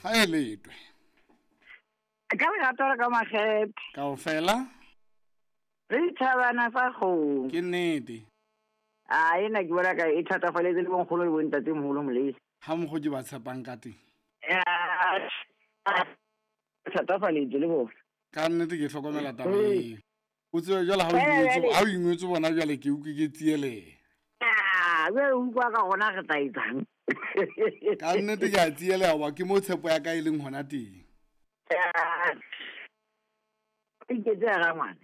Ha e letwe. Ka lerato le ka makgethe. Kaofela. Re dithabana sa kgomo. Ke nnete. A ena ke bona ka e thatafaletse le bonkgolo le bontatemoholo molele. Ha mokgo ke ba tshepang ka teng. Thatafaletse le bona. Ka nnete ke hlokomela taba eo. O tsebe jwale ha o ingwetse bona jwale ke utlwe ke tsieleha. Jwale o utlwa ka gona re tla etsang. Ka nnete ke a tsieleha hoba ke mo tshepo ya ka e leng hona teng. Iketse ya rangwane.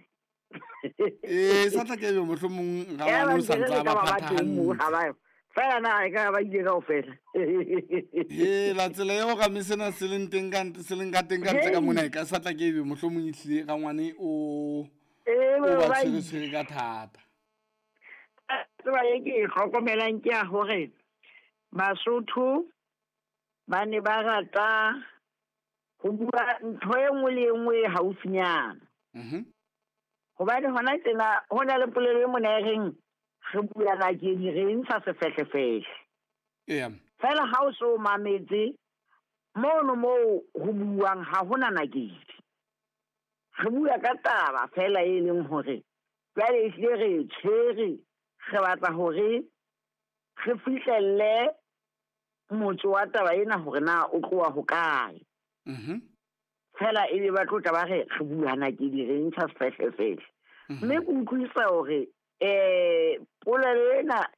Ee, sa tla ke be mohlomong rangwane o sa ntse a ba phathahantle. Fela na e ka ba ile kaofela. He la tsela eo ka mme sena se leng teng ka se leng ka teng ka ntle ka mona e ka sa tla ke be mohlomong e hlile rangwane o o ba tshwere tshwere ka thata. Tseba e ke e hlokomelang ke ya hore Basotho ba ne ba rata ho bua ntho e nngwe le e nngwe e haufinyana. Hobane hona tjena ho na le polelo e mona e reng re bua nakedi re ntsha sefehlefehle. Fela ha o so mametse mono moo ho buang ha hona nakedi. Re bua ka taba fela e leng hore jwale ehlile re e tshwere, re batla hore re fihlelle motso wa taba ena hore na o tloha hokae. Fela ebe ba tlo tla ba re re bua nakedi re ntsha sefehlefehle. Mme ke utlwisisa hore polelo ena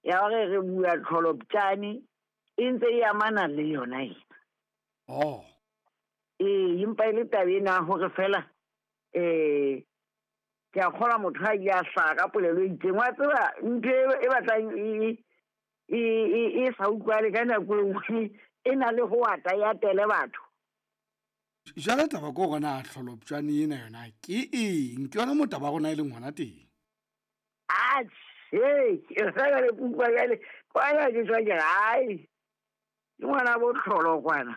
ya hore re bua tlholoptjane e ntse e amana le yona ena. Ee, empa e le taba ena hore fela ke a kgolwa motho ha ile a hlaha ka polelo e itseng. Wa tseba ntho e batlang e sa utlwale ka nako e nngwe e na le ho ata e atele batho. Jwale taba ke hore na tlholoptjane ena yona ke eng? Ke yona moo taba ya rona e leng hona teng. Atjhe, ke reka le kutlwa jwale, kwana ke tswa ke re, hai, ke ngwana bo tlholo kwana.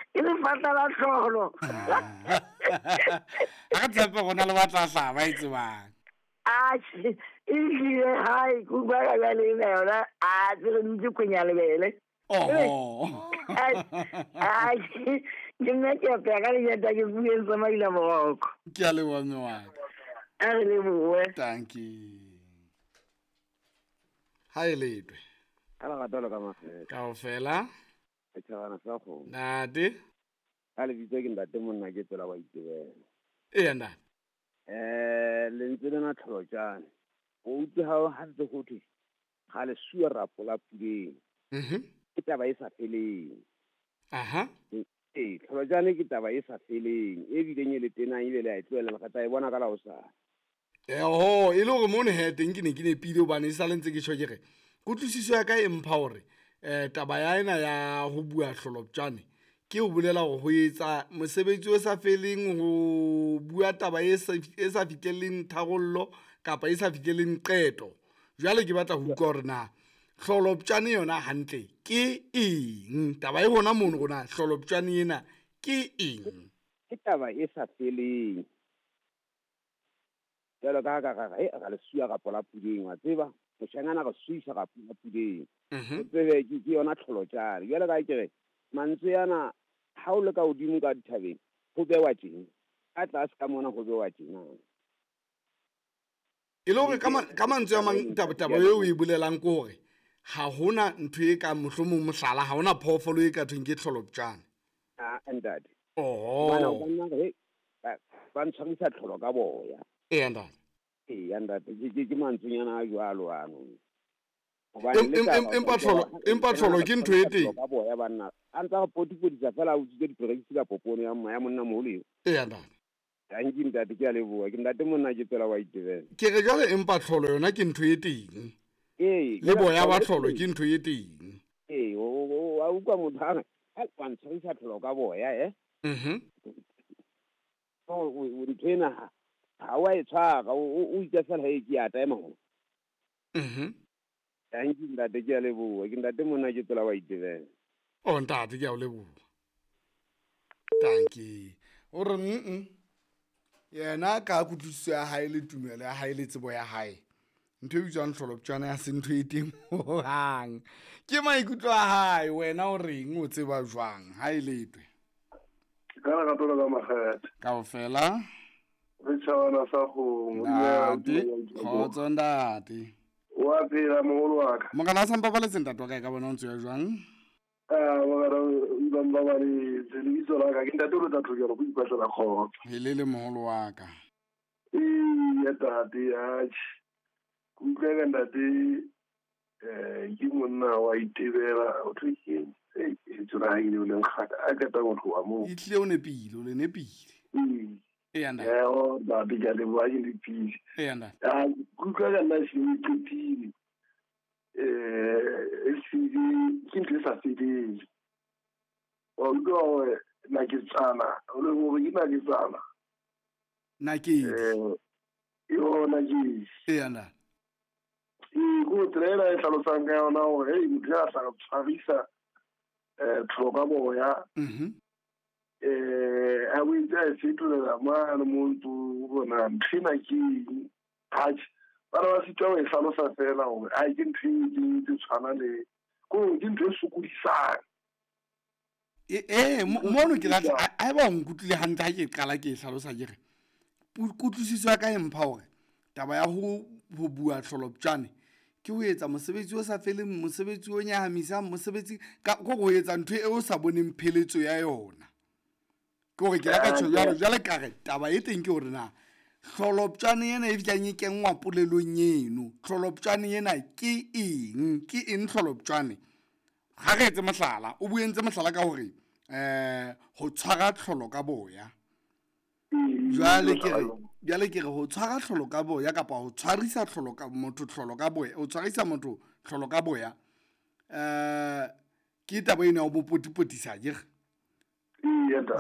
Ke lefatla la tlholo. Ha re tshepe rona le batla hlaha ba e tsebang. Atjhe, ehlile hai, ke utlwa ka jwale ena yona, atjhe, re dutse kwenya lebele. Atjhe, ke nna ke apeya ka lenyata ke bueng tsa maila moroko. Ke a leboha mme wa ka. A re lebohe. Thank you. Ha e letwe. Ka lerato le ka makgethe. Kaofela. Re tjhabana sa kgomo. Ntate. Ka lebitso ke ntate monna ke tsela wa itebela. Eya ntate. Lentswe lena tlholotjane. O utlwe ha ntse ho thwe ga le sua rapo la puleng. Ke taba e sa feleng. Ee, tlholotjane ke taba e sa feleng, e bileng e le tenang ebile le a e tlohela, re tla e bona ka la hosane. Oho, e le hore mono he teng ke ne ke nepile hobane e sale ntse ke tjho ke re, kutlwisiso ya ka e mpha hore taba ya ena ya ho bua tlholoptjane ke ho bolela hore ho etsa mosebetsi o sa feleng, ho bua taba e sa fihlelleng tharollo kapa e sa fihlelleng qeto. Jwale ke batla ho utlwa hore na tlholoptjane yona hantle ke eng? Taba e hona mono rona tlholoptjane ena ke eng? Ke taba e sa feleng. Jwalo ka ha ka re, ra le suya rapo la puleng, wa tseba? Moshanyana re suisa rapo la puleng. O tsebe ke yona tlholotjane. Jwalo ka ha ke re, mantswe ana ha o le ka hodimo ka dithabeng, ho bewa tjena. Ka tlase ka mona ho bewa tjena. E le hore ka mantswe a mang taba eo o e bolelang ke hore ha hona ntho e ka mohlomong mohlala, ha hona phoofolo e ka thweng ke tlholoptjane. Ah, ntate. Bana o ka nna re, ba ntshwarisa tlholo ka boya. Eya, ntate. Eya, ntate. Ke mantswenyana a jwalo ano. Hobane le taba Empa tlholo ke ntho e teng. Ka boya banna. A ntsa re potipodisa fela a utswitse diperekisi ka popone ya mma ya monna moholo eo. Eya, ntate. Thank you, ntate, ke a leboha. Ke ntate monna ke tsela wa itebela. Ke re jwale empa tlholo yona ke ntho e teng. Ee, Le boya ba tlholo ke ntho e teng. Ee, o a utlwa motho a re, ha wa ntshwarisa tlholo ka boya, eh? Ntho ena ha wa e tshwara, o itse fela he ke ya taema ho. Thank you, ntate, ke a leboha. Ke ntate monna ke tsela wa itebela. Oh, ntate, ke a o leboha. Thank you. O re, Yena ka kutlwisiso ya hae le tumelo ya hae le tsebo ya hae, Ntho e bitswang tlholoptjwana ya se ntho e teng hohang. Ke maikutlo a hae, wena o reng, o tseba jwang? Ha e letwe. Ka lerato la ka makgethe. Kaofela. Re tjhabana sa kgomo. Ntate, kgotso ntate. Wa phela moholo wa ka. Morena a sa mpabaletse ntate wa ka, e ka bona o ntse ya jwang? Ah, morena o mpabaletse, lebitso la ka ke ntate o le tla thokela go ipatlela kgotso. Helele moholo wa ka. Ee, ntate, atjhe. Ke utlwa ka ntate, ke monna wa itebela, o thwe ke eng? Ei, lebitso la hae ke le leng kgaka, a qeta ho tloha moo. Ehlile o nepile, o le nepile. Ee. Eya ntate. Eo, ntate, ke a leboha, ke nepile. Eya ntate. Ah, ke utlwa ka nna ehlile e qetile. Ehlile ke ntho e sa feleng. Wa utlwa hore naketsana, o le hore ke naketsana. Nakedi. Yo, nakedi. Eya ntate. Ee, ko tsela ena e hlalosang ka yona hore, hey, motho ya tla tshwarisa, tlholo ka boya. A boetse a e fetolela mane mo ntlo bona ntho ena ke eng. Atjhe, bana ba sitwa ho e hlalosa fela hore, ai, ke ntho e ke tse tshwana le, ko ke ntho e sokodisang. Mono ke batla, ha eba o nkutlwile hantle ha ke qala ke e hlalosa ke re, kutlwisiso ya ka e mpha hore taba ya ho bua tlholoptjane ke ho etsa mosebetsi o sa feleng, mosebetsi o nyahamisang, mosebetsi ka ko ho etsa ntho e o sa boneng pheletso ya yona. Ke hore ke la ka tjho jwalo, jwale ka re taba e teng ke hore na tlholoptjane ena e fihlang e kenngwa polelong eno, tlholoptjane ena ke eng? Ke eng tlholoptjane? Ha re etse mohlala, o buentse mohlala ka hore, ho tshwara tlholo ka boya. Jwale ke re, jwale ke re ho tshwara tlholo ka boya kapa ho tshwarisa tlholo ka motho tlholo ka boya, ho tshwarisa motho tlholo ka boya, ke taba ena ya ho bo potipotisa akere?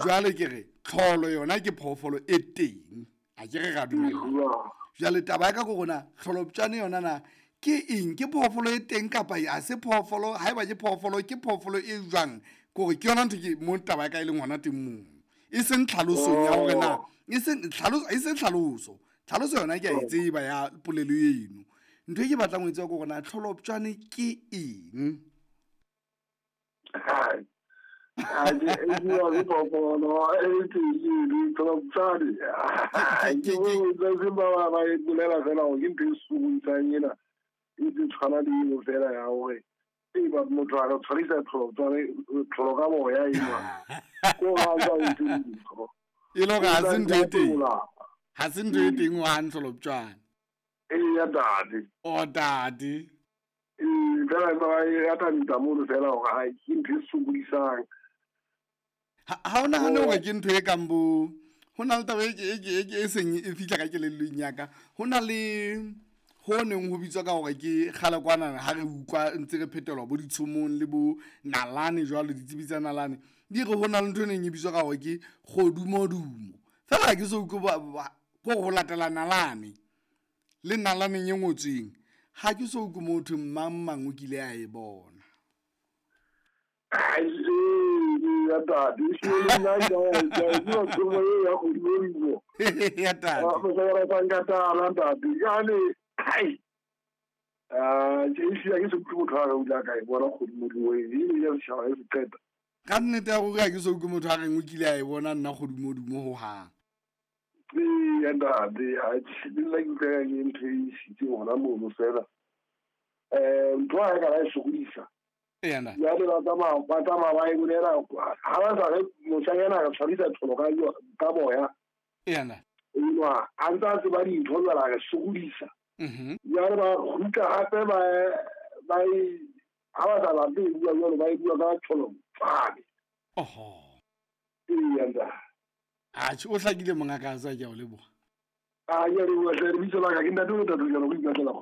Jwale ke re tlholo yona ke phoofolo e teng, akere ra dumellana. Jwale taba ya ka ke hore na tlholoptjane yona na ke eng? Ke phoofolo e teng kapa ha se phoofolo? Haeba ke phoofolo, ke phoofolo e jwang? Ke hore ke yona ntho ke mo taba ya ka e leng hona teng moo. E seng tlhalosong ya hore na, e seng tlhaloso, e seng tlhaloso. Tlhaloso yona ke a e tseba ya polelo eno. Ntho e ke batlang ho e tseba ke hore na tlholoptjane ke eng? Hai. Hai, e bua ke phoofolo, e teng eno, tlholoptjane. Ke, Ke ke, ke ba ba e bolela fela hore ke ntho e sokodisang ena. E tse tshwana le eno fela ya hore, e ba motho a re tshwarisa tlholoptjane, tlholo ka boya enwa. Ko ha o sa etse dintho. E le hore ha se ntho e teng. Ola. Ha se ntho e teng ho hang tlholoptjane. Eya, ntate. O, ntate. Ee, fela ba e atamisa mono fela hore hai, ke ntho e sokodisang. Ha o nahane hore ke ntho e kang bo, ho na le taba e ke, e ke, e ke, e seng e fihla ka kelellong ya ka. Ho na le ho neng ho bitswa ka hore ke kgale kwana ha re utlwa ntse re phetelwa bo ditshomong le bo nalane jwalo, ditsebi tsa nalane. Di re ho na le ntho e neng e bitswa ka hore ke kgodumodumo. Fela ha ke so utlwe ko ho latela nalane le nalaneng e ngotsweng. Ha ke so utlwe motho mang mang o kile a e bona. Ai, ee, ya ntate, e hlile le nna ke a e utlwa, ke bua tshomo e ya kgodumodumo. Ya ntate. Ah, mosadi wa ratang ka tala, ntate. Jwale, hai. Ah, ke e hlile ha ke so utlwe motho a re o ile a ka e bona kgodumodumo e, e ile ya setjhaba e se qeta. Ka nnete ya ruri ha ke so utlwe motho a reng o kile a e bona nna kgodumodumo hohang. Ee, ya ntate, atjhe, le nna ke utlwa ka ke ntho e isitseng hona mono fela. Ntho ha e ka ba e sokodisa. Eya, ntate. Jwale ba tsamaya, ba tsamaya ba e bolela, ha ba sa re moshanyana a re tshwarisa tlholo ka boya. Eya, ntate. Enwa, a ntse a tseba dintho jwale a re sokodisa. Jwale ba kgutla hape ba e, ha ba sa batle ho bua jwalo, ba e bua ka tlholo tswane. Oho. Eya, ntate. Atjhe, o hlakile mongaka, a tswa ke a o leboha. Ah, ke a leboha hle, lebitso la ka ke ntate o ntate o jalo, o ipatlela kgotso.